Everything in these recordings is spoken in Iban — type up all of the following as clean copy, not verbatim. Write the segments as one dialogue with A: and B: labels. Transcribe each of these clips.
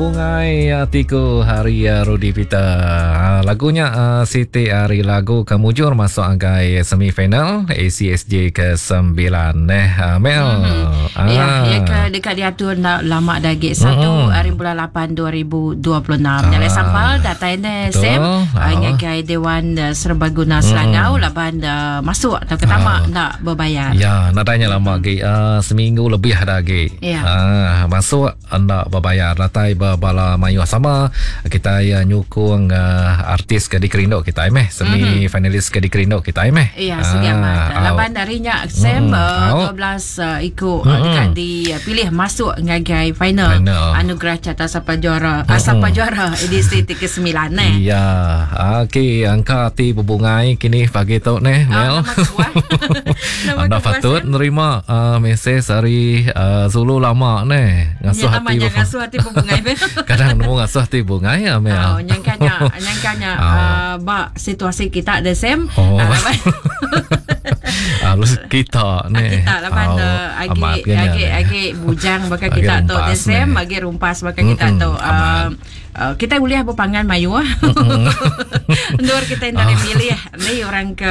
A: Bebungai Atiku hari Rudy Peter. Ha, lagunya uh, siti hari lagu ke mujur masuk agai semifinal ACSJ ke-9 eh uh, Mel.
B: Mm-hmm. Ah. Ya, ya ke dekat diatur nak lama dah lagi 1 mm-hmm. hari bulan 8 2026. Ah. Nyalai sampal datai ne Sam ah. ngagai Dewan Serbaguna Selangau mm. laban uh, masuk atau ke tamak ah. nak berbayar.
A: Ya, nadainya lama lagi uh, seminggu lebih ada lagi.
B: Ya.
A: Uh, masuk enda bebayar datai ba bala mayuh sama kitai nyukung artis ke dikerindu kitai meh semi finalis ke dikerindu kitai meh.
B: Ya, sigi amat. Laban ari nya Sam 12 iku deka dipilih masuk ngagai final Anugerah Carta Sapa Juara Sapa Juara edisi ti ke-9 neh.
A: Ya, okey angka ti bebungai kini pagi tu neh Mel. Enda patut nerima uh, mesej ari uh, Zulu lama neh.
B: Ngasuh hati nya ngasuh hati bebungai.
A: Kadang nemu ngasuh hati bungai ya
B: meh. Oh, nyangka nya, nyangka nya oh. uh, ba situasi kita the same.
A: Oh. Uh, Harus kita
B: ni. Kita laban oh, agi agi agi bujang baka kita tu the same, agi rumpas baka kita tu. Uh, Uh, kita ulih bepangan mayuh. Endur kita enda oh. milih ni orang ke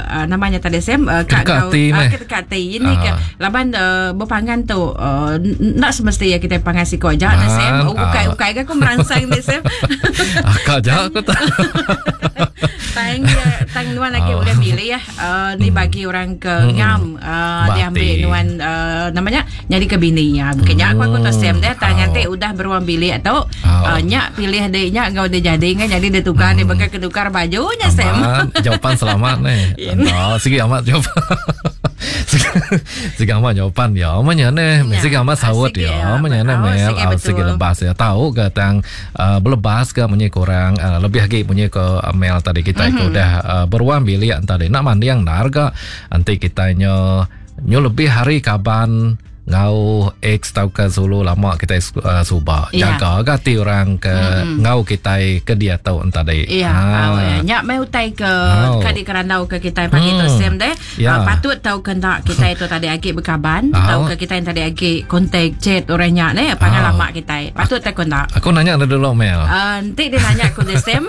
B: uh, namanya tadi Sam uh,
A: kak kau uh,
B: kita kat ti ini ke laban uh, bepangan tu uh, nak semesti ya kita pangan siko aja uh, Sam. Oh, ukai ukai ke aku merangsang ni Sam.
A: Akak aja aku tak.
B: Tang tang nuan lagi oh. boleh milih ya. Uh, ni bagi orang ke ngam uh, dia ambil nuan uh, namanya nyadi ke bini ya. Bukan nya aku aku tu Sam dia tang nganti udah beruang bilik tu uh, nya pilih dia nya enggau dia jadi kan jadi dia tukar dia bakal ketukar baju nya Sam.
A: Jawapan selamat ni. Oh, sigi amat jawapan. Sigi amat jawapan ya. Manya ne, sigi amat saut ya. Manya ne mel sigi lebas ya. Tahu ke tang uh, belebas ke munyi kurang uh, lebih agi munyi ke uh, mail tadi kita mm-hmm. udah uh, beruang bilik tadi nak manding nar ga enti kita nyo nyo lebih hari kaban ngau ex tau ke sulu lama kita uh, suba yeah. jaga ga ti orang ke mm-hmm. ngau kita ke dia tau tadi
B: ya yeah. ha. nya mai utai ke oh. ka dikerandau ke kita pagi mm. tu sem deh Yeah. Uh, patut tau ke enda kita itu tadi agi bekaban, oh. tau ke kita yang tadi agi kontak chat orang nya ne pangan oh. lama kita. Patut tau ke enda?
A: Aku nanya dia dulu Mel.
B: Uh, nanti dia nanya aku dia Sam.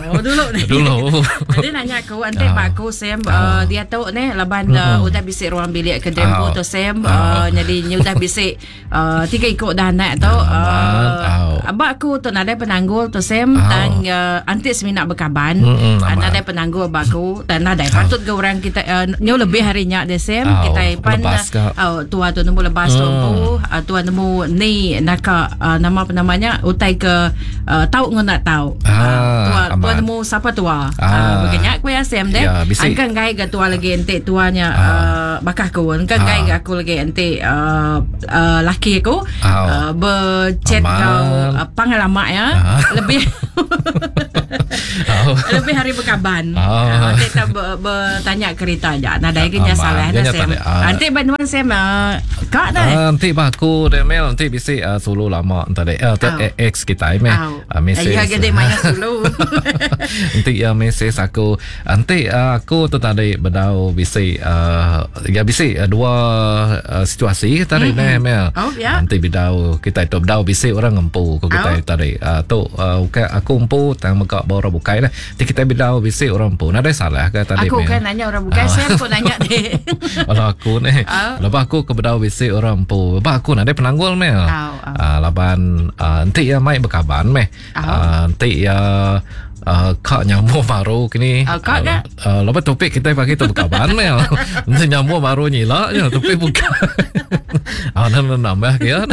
B: oh dulu ni.
A: Dulu.
B: dia nanya aku nanti oh. pak aku Sam oh. uh, dia tu ne laban oh. uh, udah bisi ruang bilik ke dempo oh. tu Sam uh, oh. jadi nya udah bisi Uh, tiga iku dah anak tu. Uh, abak aku tu nadai penanggul tu Sam oh. tang uh, anti semina bekaban. Mm-hmm, uh, nadai penanggul abak aku dan nadai patut ke orang kita uh, nyu lebih hari nya deh Sam oh, kita pan uh, tua tu nemu lebas mm. tu empu uh, tua nemu ni naka uh, nama penamanya utai ke uh, tau ngena tau.
A: Ah,
B: uh, tua tua nemu siapa tua. Ah. Uh, begenya aku ya Sam deh.
A: Ya,
B: Angka ngai ke tua lagi enti tuanya ah. uh, bakah aku. Angka ngai ke aku lagi enti uh, uh, laki aku uh, berchat kau uh, pangalama ya uh. lebih oh. lebih hari berkaban oh. uh, kita ber, bertanya kereta aja nadai ke nya salah dah Sam nanti bantuan Sam uh, kak dah
A: nanti bah aku deh Mel nanti bisi uh, sulu lama tadi uh, oh. ex kita meh
B: oh. uh, mesej ya gede maya sulu
A: nanti ya mesej aku Enti aku tu tadi bedau bisi uh, ya bisi uh, dua uh, situasi tadi mm-hmm. neh mel.
B: Oh ya.
A: Enti bedau kita tu bedau bisi orang ngempu ku kita oh. tadi. Uh, tu uh, ukai aku empu tang mega ba orang bukai lah. Enti kita bedau bisi orang empu nadai salah ke tadi
B: Aku kan nanya orang bukai, oh. saya aku nanya deh.
A: Kalau aku neh.
B: Oh.
A: Lepas aku ke bedau bisi orang empu. Lepas aku nadai penanggul mel.
B: Oh, oh.
A: Uh, laban uh, enti ya mai bekaban meh.
B: Oh.
A: Uh, enti ya Uh, kak nyambung baru kini.
B: Uh, kak
A: uh, uh, lepas topik kita pagi tu bekaban mel. Enti nyambung baru nyila je topik bukan. Ah uh, nak nambah ke ya.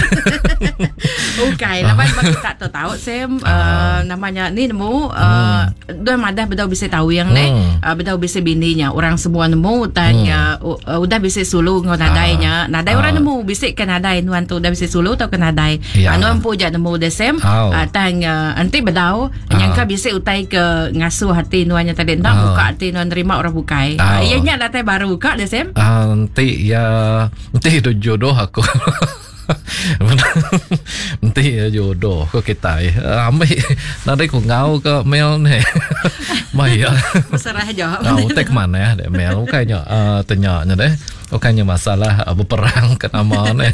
B: Okey, lepas bagi tak tahu tahu Sam uh, namanya ni nemu uh, hmm. Dua madah bedau bisa tahu yang ni hmm. uh, bedau bisa bininya orang semua nemu tanya hmm. uh, udah bisa sulu ngau nadainya. Nadai uh. orang nemu bisa ke nadai nuan tu udah bisa sulu atau ke nadai.
A: Ya.
B: Yeah. Nuan pun jak nemu deh Sam.
A: Oh.
B: Uh, tang uh, enti bedau Nyangka bisi utai ke ngasuh ati nuan nya tadi enda buka ati nuan nerima orang bukai.
A: Oh.
B: Iya nya datai baru ka deh Sam.
A: Uh, enti ya enti tu jodoh aku. enti ya jodoh ko kitai. Uh, ambil nadai ku ngau ke mail ni. Mai ya.
B: Berserah aja.
A: Oh, utai ke mana deh mail bukai nya uh, tanya nya deh. Bukannya masalah uh, berperang ke nama ni.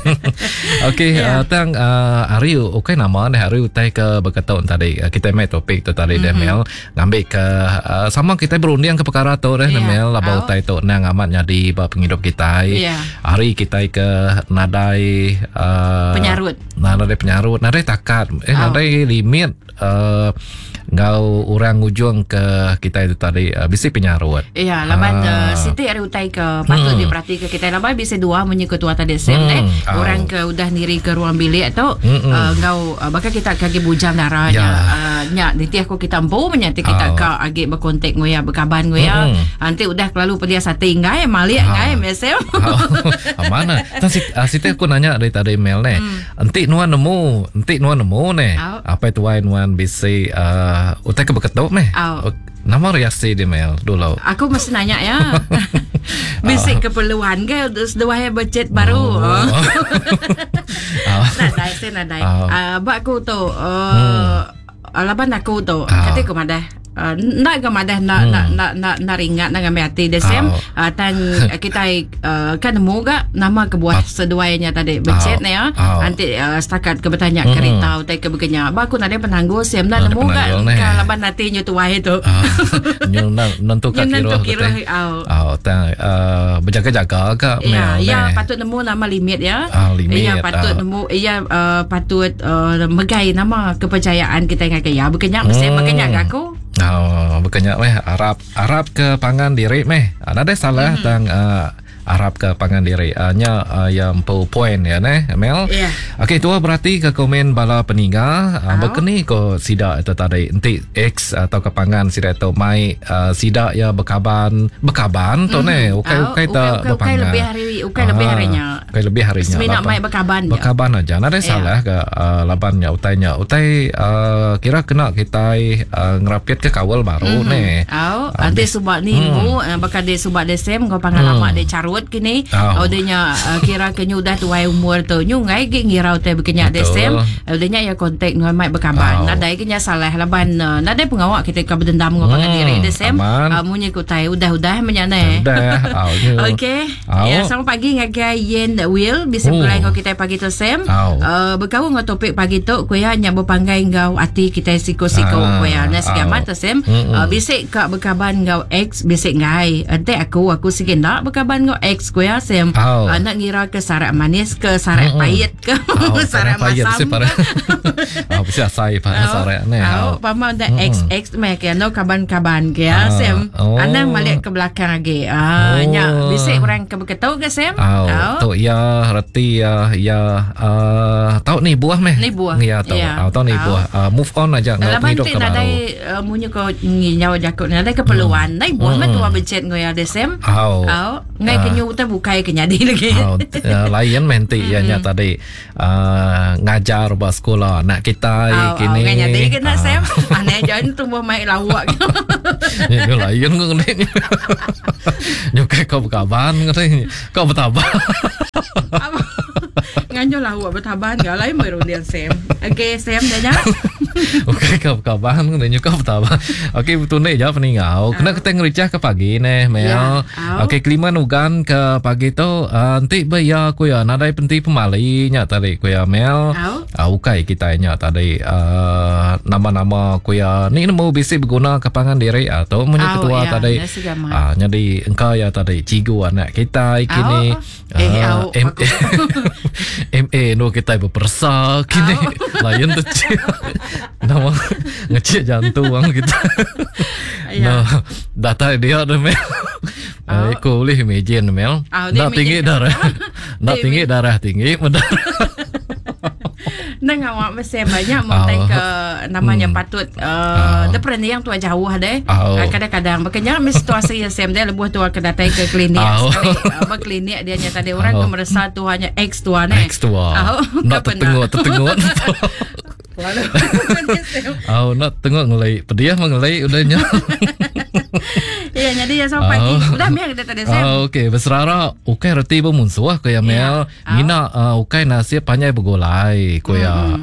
A: Okey, yeah. uh, tang uh, hari ukai nama ni hari utai ke berketuk tadi. Uh, kita mai topik tu tadi mm-hmm. Mel ngambil ke uh, sama kita berunding ke perkara tu deh yeah. Mel laba oh. utai tu nang amat nyadi ba penghidup kita. Yeah. Hari kita ke nadai
B: uh, penyarut.
A: Nadai penyarut, nadai takat, eh oh. nadai limit uh, enggau orang ngujung ke kita itu tadi uh, bisi penyarut.
B: Ya, laban ah. uh, siti ari utai ke patut hmm. diperhati ke kita laban bisi dua munyi ketua tadi sem hmm. eh orang ke udah niri ke ruang bilik tu hmm. uh, enggau uh, bakal kita ke agi bujang dara nya ya. uh, nya nitih aku kita empu menyati kita oh. ka agi berkontak ngau ya berkaban ngau ya. Hmm. Nanti udah kelalu pedih sati enggai malik ah. enggai mesem.
A: Ah. Mana? Tan siti aku nanya dari tadi mail ne. Hmm. Enti nuan nemu, enti nuan nemu neh, apai tuai nuan bisi uh, utai ke beketu meh. Au. Nama reaksi dia Mel dulu?
B: Aku mesti nanya ya. bisi uh. keperluan ke seduai ya becet baru. Oh. nadai sih nadai. Uh. Uh, ba aku tu uh, hmm. Laban aku tu, kati ku madah. Uh, enda ga madah enda hmm. enda enda enda enda ringat enda ngambil ati dia Sam. Uh, tang kitai uh, kan nemu ga nama kebuah seduai nya tadi becet ne ya. Anti uh, setakat ke betanya hmm. kereta utai ke begenya. Ba aku nadai penanggul Sam enda nemu ga ka laban ati nyu tuai tu.
A: Nyu nentu ka kira kira. Au tang uh, berjaga-jaga ga
B: ya, ya patut nemu nama limit ya.
A: Limit.
B: Ya patut nemu ya uh, patut uh, megai nama kepercayaan kita ngagai iya bekenya mesti hmm. bekenya ga aku.
A: Oh, bekenya meh arap arap ke pangan diri meh. Ah, nadai salah hmm. tang uh, arap ke pangan diri. Uh, nya uh, yang empu point ya neh, Mel.
B: Yeah.
A: Okey, tua berarti ke komen bala peninga uh, oh. bekeni ko sida itu tadi enti ex atau ke pangan sida tu mai uh, sida ya bekaban bekaban tu mm. neh ukai ukai ta
B: bepangan. Ukai lebih hari ukai lebih hari nya.
A: Ukai lebih hari nya.
B: Semina mai bekaban
A: je. Bekaban aja. Nadai yeah. salah ke uh, laban nya utai nya. Utai uh, kira kena kitai uh, ngerapit ke kawal baru mm-hmm. ne.
B: Au, uh, ante suba ni mm. mu uh, bakal dia suba dia sem kau pangan mm. lama dia carut kini. Oh. Oh dia nya uh, kira ke nyu dah tuai umur tu. Nyu ngai ge ngirau te bekenya dia sem. Uh, dia nya ya kontak ngau mai bekaban. Oh. Nadai ke nya salah laban uh, nadai pengawa kita ke berdendam ngau pangan mm. diri dia sem. Uh, munyi ku utai udah-udah menyane.
A: Udah.
B: Okey. Ya, selamat pagi ngagai Yen Will bisi oh. begulai enggau kitai pagi tu Sam. Uh, bekaul enggau topik pagi tu ku iya nya bepanggai enggau ati kitai siku-siku ah, ku iya. Nah sigi amat tu Sam. Uh, bisi ka bekaban enggau ex bisi enggai. Enti aku aku sigi enda bekaban enggau ex ku iya Sam. Uh, enda ngira ke sarak manis ke sarak pahit ke oh, sarak masam.
A: Oh, bisi asai pa sarak
B: ne. Oh, pama enda ex ex meh ke no kaban-kaban ke ya Sam. Oh. Anang malik ke belakang agi. Ah, oh. nya bisi orang ke beketu ke Sam?
A: Oh. oh. Tu ya reti ya ya uh, tau ni buah meh.
B: Ni buah.
A: Ya tau. Ya. Oh, tau ni buah. Uh, move on aja
B: ngau pengidup ke baru. Nadai uh, munyi ko nginyau jaku nadai keperluan. Hmm. Nai buah hmm. meh tua becet ngau ya Sam.
A: Oh.
B: Oh. Ngai uh. kenyu utai bukai ke nyadi lagi.
A: Oh. Uh, lain meh enti ya nya tadi. Uh, ngajar ba sekolah anak kita
B: oh,
A: kini.
B: Oh, nyadi kena uh. Sam. Aneh aja tumbuh mai lawak.
A: Ya lain ko ngene. Nyukai kau bekaban ngene. Kau bertaban.
B: Nganjo lawak bertaban ga lain mai runding Sam. Okey Sam dah nya.
A: Okey kau bekaban ngene nyukai bertaban. Okey betul ni ja peningau. Kena kita ngericah ke pagi neh Mel.
B: Ya.
A: Okey Keliman Ugan ke pagi tu uh, enti be iya ku iya nadai penti pemali nya tadi ku iya Mel. Uh, ukai kitai nya tadi uh, nama-nama ku iya ni nemu bisi beguna ke pangan diri uh, tu munyi ketua
B: ya,
A: tadi. Uh, nyadi engka iya tadi cigu anak kitai kini.
B: Eh, uh,
A: M MA nu kitai beperesa kini. Lain tu Nama ngecik jantung kita.
B: Ya.
A: No, datai dia tu Mel.
B: Oh.
A: Aku boleh imagine Mel.
B: Oh, dia
A: Nak tinggi
B: imagine.
A: darah. Nak
B: Dia
A: tinggi darah tinggi mendarah.
B: Nang awak mesti banyak mau
A: Oh.
B: ke namanya
A: Hmm.
B: patut uh,
A: Oh.
B: dia pernah yang tua jauh deh.
A: Oh.
B: Uh, kadang-kadang makanya mesti situasi yang same dia lebuh tua ke datai ke klinik
A: Oh.
B: sekali. Uh, ba klinik dia nyata dia orang
A: Oh.
B: ke meresa tuanya ex tua ne.
A: Ex tua.
B: Oh,
A: Nak
B: ke
A: tertengok tertengok.
B: Lalu.
A: Oh, nak tengok ngelai. Pediah mengelai udahnya.
B: Ya, Okey, jadi ya sampai pagi. Udah meh kita tadi Sam.
A: Okey, beserara ukai reti bemunsuh ku ya Mel. Mina ukai nasib panjai begulai ku ya.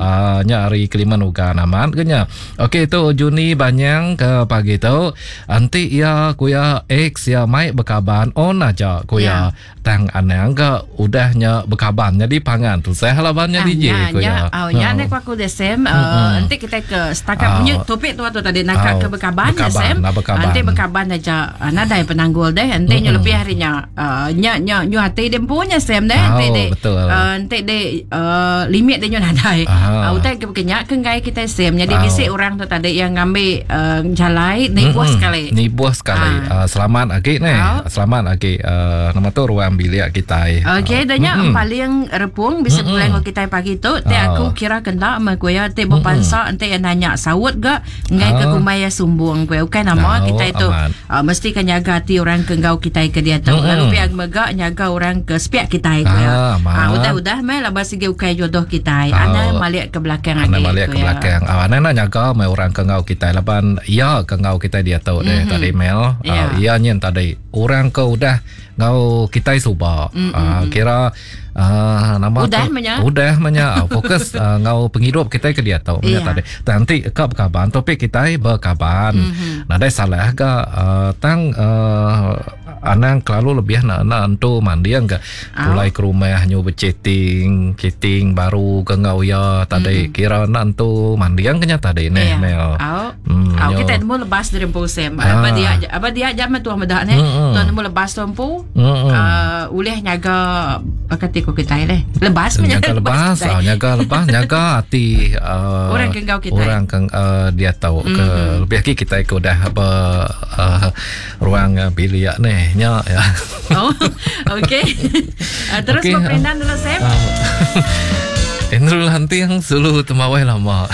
A: Nya ari Keliman Ugan amat ke nya. Okey tu Juni Banyang ke pagi tu. Enti iya ku ya ex iya mai bekaban on aja ku ya. Tang anang ga udah nya bekaban nyadi pangan tusah laban nya DJ
B: ku iya. Au nya nya ku aku deh Sam enti kitai ke setakat munyi topik tua tu tadi naka ke bekaban deh Sam. Enti bekaban aja nadai penanggul deh enti nya lebih ari nya nya nya nyu ati deh empu nya Sam deh enti deh enti deh limit deh nyu nadai. Utai ke baka nya ke enggai kitai Sam nyadi bisi orang tu tadi iya ngambi jalai nibuh sekali.
A: Nibuh sekali. Selamat agi neh. Selamat agi. Nama tu ruang bilik kitai.
B: Okey, dah nya paling repung bisi pulai enggau kitai pagi tu. Ti aku kira ke enda meh ku iya ti bepansa enti iya nanya saut ga enggai ke kumbai iya sumbung ku iya. Ukai nama kitai tu mesti ka nyaga ati orang ke enggau kitai ke diatu. Lalu pia mega nyaga orang ke sepiak kitai ku iya. Udah-udah meh laban sigi ukai jodoh kitai. Anang malik ke belakang agi.
A: Anang malik ke belakang. Anang enda nyaga meh orang ke enggau kitai laban iya ke enggau kitai diatu deh tadi Mel. Iya nyin tadi. Orang ke udah enggau kitai suba mm-hmm. kira nama
B: udah menya
A: udah menya fokus enggau pengidup kitai ke diatu menya yeah. tadi tang enti ka bekaban topik kitai bekaban mm-hmm. nadai salah ga uh, tang uh, anang kelalu lebih nak nak entu manding ke pulai ke rumah nyu berchatting chatting baru ke enggau iya tadi mm-hmm. kira nak entu manding ke nya tadi neh yeah. Mel.
B: Hmm, Au kita nemu lebas diri empu Sam. Ah. Aba dia aba dia jam tuah meda ne. Hmm. Tuah nemu lebas tu empu. Hmm. Uh, ulih nyaga kati ko kitai leh. Lebas
A: nyaga lebas, ah, nyaga lebas, nyaga ati
B: uh, orang ke enggau
A: kitai. Orang ke uh, dia tahu ke hmm. lebih lagi kitai ke udah apa uh, ruang bilik ne nya ya.
B: Oh, okey. Uh, terus okay. Perindan dulu Sam.
A: Andrew Lanting sulu temawai lama.